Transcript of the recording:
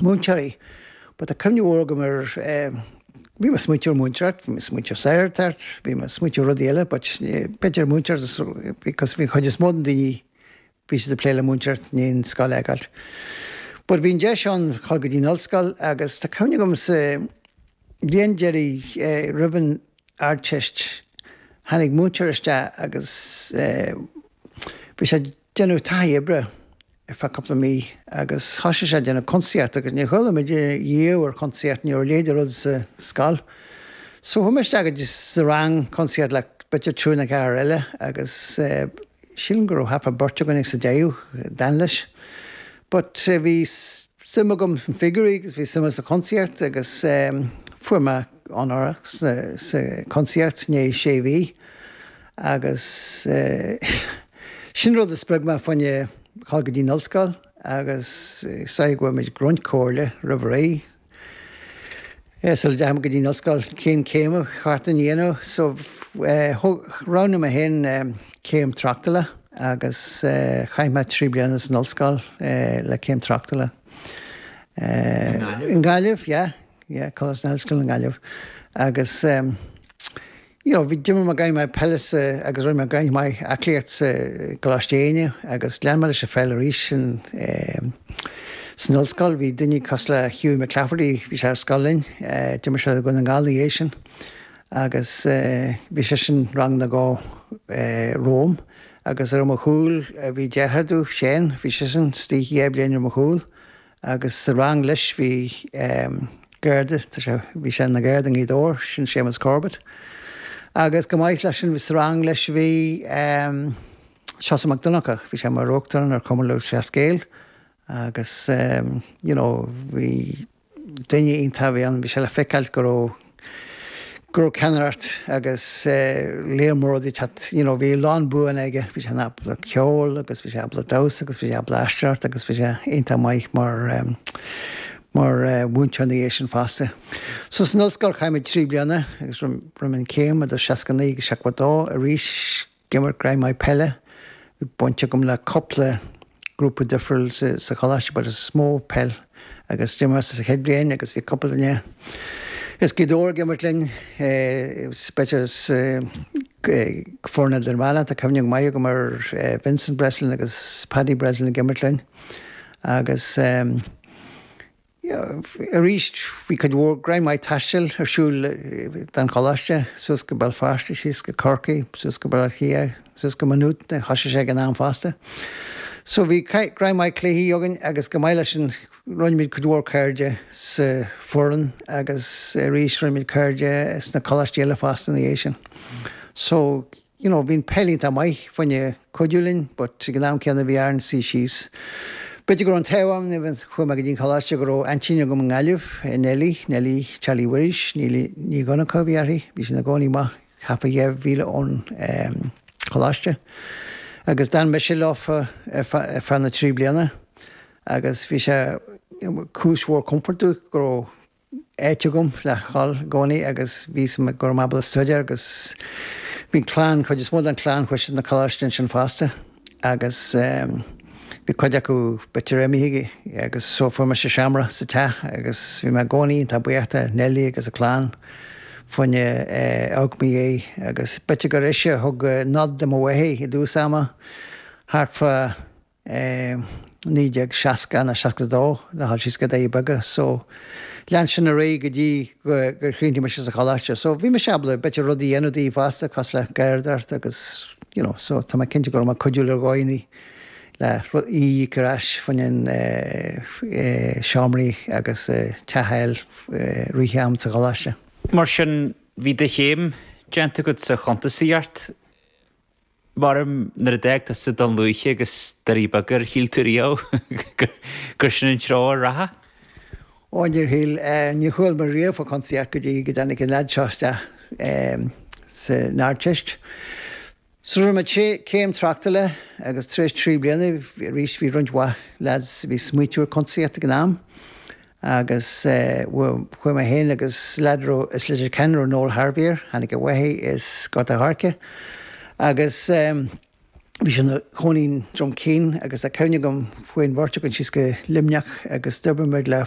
Múinteoirí. But tá cuimhne mhór agam ar, bhí mé ag smaointiú ar múinteoireacht, bhí mé ag smaointiú ar saghartacht, bhí mé ag smaointiú ar rudaí eile but b'fhéidir múinteoireacht because bhí an chuid is mó den daoine, bhí siad ag plé le múinteoireacht i ndiaidh an scoil a fhágáilt. But bhí an deis ann dhul go dtí an ollscoil agus tá cuimhne agam sa bhliain deiridh roimh an Ardteist tháinig múinteoir isteach agus bhí sé ag déanamh taithí oibre ar feadh cúpla mí agus thosaigh sé ag déanamh cuntasaíocht agus níor chuala muid riamh ar chuntasaíocht, ní raibh a leithéid de rud sa scoil. So chuaigh mé isteach go dtí sa rang cuntasaíocht le b'fhéidir triúr nó ceathrar eile agus sílim go raibh thart fá beirt againn ag sa deireadh d'fhan leis. But bhí suim agam sna figiúirí agus bhí suim sa chuntasaíocht agus fuair mé onóracha sa chuntasaíocht i ndiaidh sé mhí. Agus sin rud a spreag mé fá choinne dhul go dtí an ollscoil agus is dóigh go bhfuair muid roinnt comhairle roimh ré sula dteachaigh mé go dtí an ollscoil cén céim a cheart dom a dhéanamh. So roghnaigh mé féin céim tráchtála agus chaith mé 3 bliana san ollscoil le céim tráchtála. I nGaillimh? Yeah, yeah, Coláiste na hOllscoile i nGaillimh. Agus You know, bhí, d'imir mé roinnt mhaith peile sa, agus rinne mé roinnt mhaith aclaíocht sa gColáiste Éinne agus lean mé leis an pheil arís san, san ollscoil. Bhí duine cosúil le Hughie McClafferty, bhí sé ar scoil linn, d'imir sé do Dhún na nGall ina dhiaidh sin agus bhí seisean rang nó dhó romham agus ar mo chúl bhí deartháir domh, Shane, bhí seisean istigh dhá bhliain ar mo chúl. Agus sa rang leis bhí Garda, tá sé, bhí sé ina Gharda i nGaoth Dobhair, sin Séamus Corbett. Agus go maith leis sin, sa rang leis bhí Seosamh Mac Donncha, bhí sé mar Uachtarán ar Chumann Lúthchleas Gael agus you know bhí duine iontach a bhí ann, bhí sé le feiceáil go raibh, go raibh ceannaireacht agus léar mór rudaí ag teacht, you know, bhí a lán buanna aige, bhí sé ábalta ceol agus bhí sé ábalta damhsa agus bhí sé ábalta aisteoireacht agus bhí sé iontach maith mar mar mhúinteoir ina dhiaidh sin fosta. So san ollscoil chaith mé 3 bliana agus rinne mé an chéim idir 69 agus 72 arís D'imir roinnt mhaith peile. Bhí baint agam le cúpla grúpa difriúil sa choláiste but is mó peil agus d'imir mé sa chéad bhliain agus bhí cúpla duine as Gaoth Dobhair ag imirt linn b'fhéidir as foireann idirmheánach. Tá cuimhne go maith agam ar Vincent Breslin agus Paddy Breslin ag imirt linn agus Arís, bhí cuid mhór, roinnt mhaith taistil ar siúl don choláiste, suas go Béal Feirste, síos go Corcaigh, suas go Baile Átha Cliath, suas go Maynooth, thosaigh sé ag an am fosta. So bhí roinnt mhaith cluichí againn agus go maith leis sin rinne muid cuid mhór cairde sa foireann agus arís rinne muid cairde sna coláistí eile fosta ina dhiaidh sin. So you know, bhí an peil iontach maith fá choinne cuidiú linn but ag an am céanna bhí orainn suí síos. B'fhéidir go raibh an t-ádh orm nuair a chuaigh mé go dtí an choláiste go raibh aintín agam i nGaillimh, Nellie, Nellie Charlie Mhuiris, Ní, Ní Dhonncha a bhí uirthi, bhí sí ina cónaí amach thart fá dheich mhíle ón choláiste. Agus d'fhan mise leofa ar feadh na trí bliana agus bhí sé cúis mhór comfort domh go raibh áit agam le dhul i gcónaí agus bhí a fhios agam go raibh mé ábalta staidéar agus bhí an clann, cuid is mó den chlann chuaigh siad na coláiste ansin fosta agus bhí cuid acu b'fhéidir imithe agus so fuair mise seomra sa teach agus bhí mé i gcónaí iontach buíoch de Nellie agus a clann fá choinne amharc i mo dhiaidh agus b'fhéidir gur ise a thug nod do mo mháthair i dtús ama thart fá 1960 nó 62 le dhul síos go Doirí Beaga so lean sin ar aghaidh go dtí gur chríochnaigh mise sa choláiste. So bhí mise ábalta b'fhéidir rudaí a dhéanamh di fosta cosúil le garraíodóireacht agus you know so tá mé cinnte go raibh mé ag cuidiú le dhaoine le í a íoc ar ais fá choinne seomraí agus teach a fháil rith am sa choláiste. Mar sin bhí do chéim déanta agat sa chuntasaíocht. Mar nuair a d'fhág tusa Dún Lúiche agus Doirí Beaga ar shíl tú riamh gur sin an treo a rachfá? Ó níor shíl. Níor chuala mé riamh fá chuntasaíocht go dtí go dtáinig an leaid seo isteach san Ardteist. So rinne mé céim tráchtála agus tar éis 3 bliana arís bhí roinnt mhaith leaids a bhí ag smaoitiú ar chuntasaíocht ag an am. Agus chuaigh mé féin agus leaid a raibh as Leitir Ceanainn a raibh Noel Harvey air, tháinig a mháthair as Gort a' Choirce. Agus. Bhí sé ina chónaí i nDroim Cinn agus tá cuimhne agam chuaigh an bheirt againn síos go Luimneach agus d'oibrigh muid le.